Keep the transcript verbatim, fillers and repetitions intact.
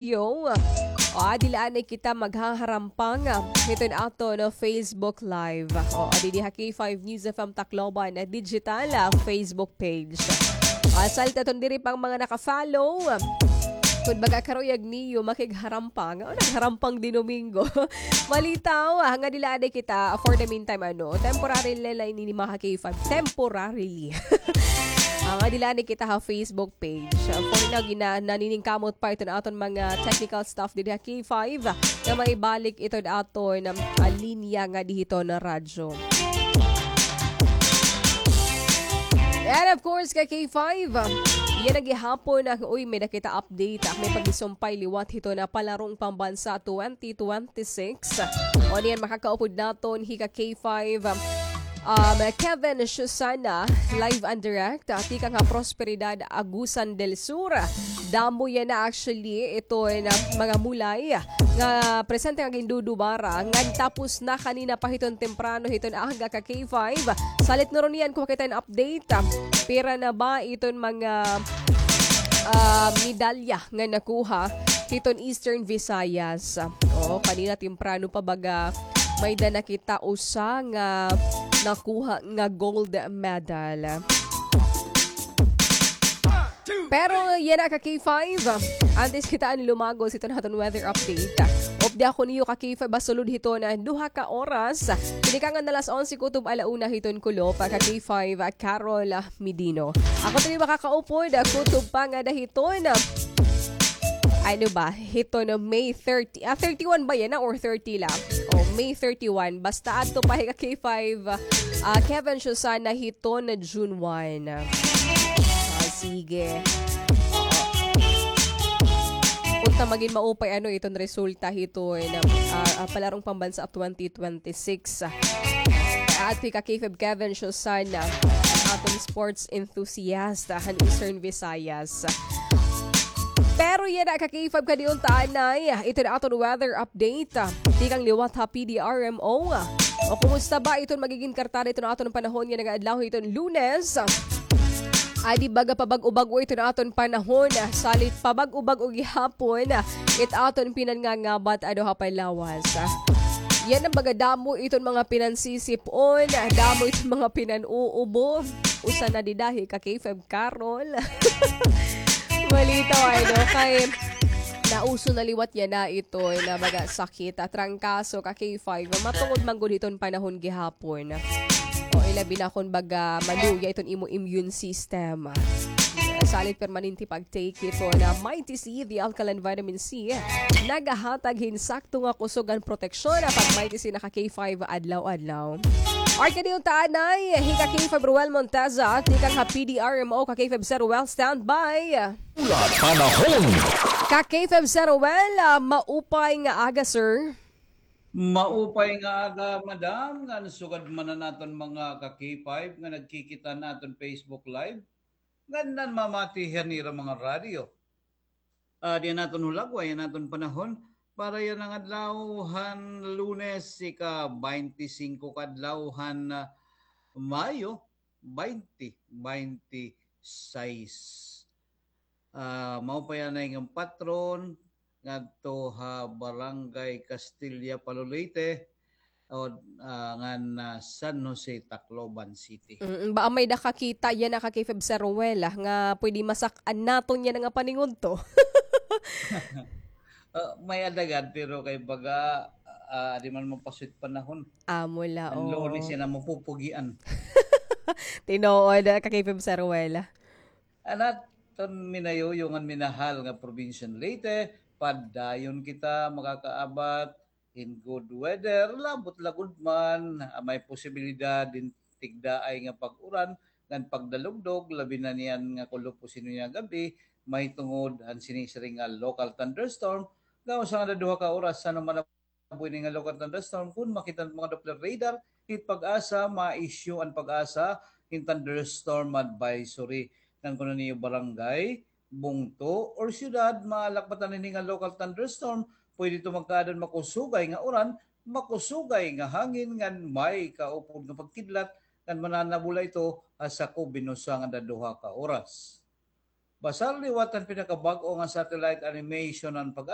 Yo. O, adi la anay kita maghaharampang, ah, hiton aton Facebook Live. O, adi di ha K five News F M Tacloban na digital, ah, Facebook page. Ah, salit aton diri pa an mga naka-follow. Kun baga karuyag niyo makigharampang, o, nagharampang di Domingo. Malitaw, ah, nga adi la anay kita, for the meantime, ano, temporary la ini mga K five. Temporarily. Ah, nga adi la anay kita ha Facebook page. Ah, for now, gina-, naniningkamot pa iton aton mga technical staff didi ha K five, nga maibalik iton aton, um, ah, linya nga di hiton radyo. And of course, ka K five, yana gihapon an, uy, may-ada kita update, ah, may paghisumpay liwat hiton palarong pambansa twenty twenty-six. O niyan makakaupod naton hi ka K five, um, Kevin Susana, live and direct, ah, tikang ha Prosperidad, Agusan del Sur. Damo yana actually iton mga mulay nga presente nga gindudubara, ngan tapos na kanina pa hiton temprano hiton aga ka K five. Salit nuron niyan, kuha kita hin update. Pira na ba iton mga, ah, medalya nga nakuha hiton Eastern Visayas? O, kanina temprano pa baga may-ada na kita usa nga nakuha nga gold medal. Pero yana ka K five, antes kita an lumagos hiton aton weather update, updi ako niyo ka K five ha sulod hiton duha ka oras. Tinikangan na alas onse kutob ala una hiton kulop, ka K five, Carol Medino. Ako tuloy makakaupod, kutob pa ngada hiton, ano ba, hiton May thirty, ah, thirty-one ba yana or thirty la? O, May thirty-one. Basta adto pa hi ka K five, ah, Kevin Susana hiton June one. Ah, sige. Unta magin maupay ano iton resulta hiton, ah, ah, palarong pambansa twenty twenty-six. Adto hi ka K five Kevin Susana, aton sports enthusiast han Eastern Visayas. Pero yana ka K five, kadi unta anay iton aton weather update tikang liwat ha P D R M O. O kumusta ba iton magigin kartada iton aton panahon yana nga adlaw hiton Lunes? Adi baga pabag-o-bag-o iton aton panahon, salit pabag-o-bag-o gihapon it aton pinangangabat ano ha panlawas. Yana baga damo iton mga pinansisip-on, damo iton mga pinan-uubo. Usa na dida hi ka K five Carol. Malitaw, ano, kay nauso na liwat yana iton baga sakit, ah, trangkaso ka K five. Matungod man gud hiton panahon gihapon. O, ilabi na kon baga maluya iton imo immune system. Salit permanente pag-take hiton Mighty C, the alkaline vitamin C. Nagahatag hin sakto nga kusog ngan proteksyon an pag-Mighty C na ka K five adlaw-adlaw. Art ka diyon ta anay, hi ka K five Ruel Monteza, tikang ha P D R M O, ka K five Sir Ruel, standby. Pula panahon. Ka K five Sir Ruel, ah, maupay nga aga, sir. Maupay nga aga, madam, ngan sugad man an aton mga ka K five nga nagkikita han aton Facebook Live, ngan nanmamati han ira mga radyo. Ah, diyan naton hulagway an aton panahon para yana nga adlaw han Lunes, ika-baynte singko ka adlaw han, ah, Mayo, baynte baynte sais. Ah, maupay anay nga patron ngadto ha Barangay Castilla, Palo, Leyte, o, ah, ngan, ah, San Jose, Tacloban City. Mm, baka may nakakita yana ka K five Sir Ruel, ah, nga pwede masak-an naton yana nga paningudto. Ah, may-ada gad, pero kay baga, ah, di man mapasuyot panahon. Amo la, oo. An Lunes yana mapupugian. Tinuod, ah, ka K five Sir Ruel. An aton minayuyo ngan minahal nga probinsya han Leyte, padayon kita makakaabat hin good weather, labot la gud man, ah, may posibilidad hin tigdaay nga pag-uran ngan pagdalugdog, labi na niyan nga kulop o sino niya gab-i, mahitungod han sini siring nga local thunderstorm, nga usa ngada duha ka oras, ano man buhi ini nga local thunderstorm, kun makita han mga Doppler radar, it PAGASA, ma-issue an PAGASA hin thunderstorm advisory. Ngan kun an iyo barangay, bungto, or syudad, maalakbatan ini nga local thunderstorm, pwede ito magkaada hin makusugay nga uran, makusugay nga hangin, ngan may kaupod nga pagkidlat, ngan mananabula ito ha sakob hin usa ngada duha ka oras. Basar liwat an pinakabag-o nga satellite animation han pag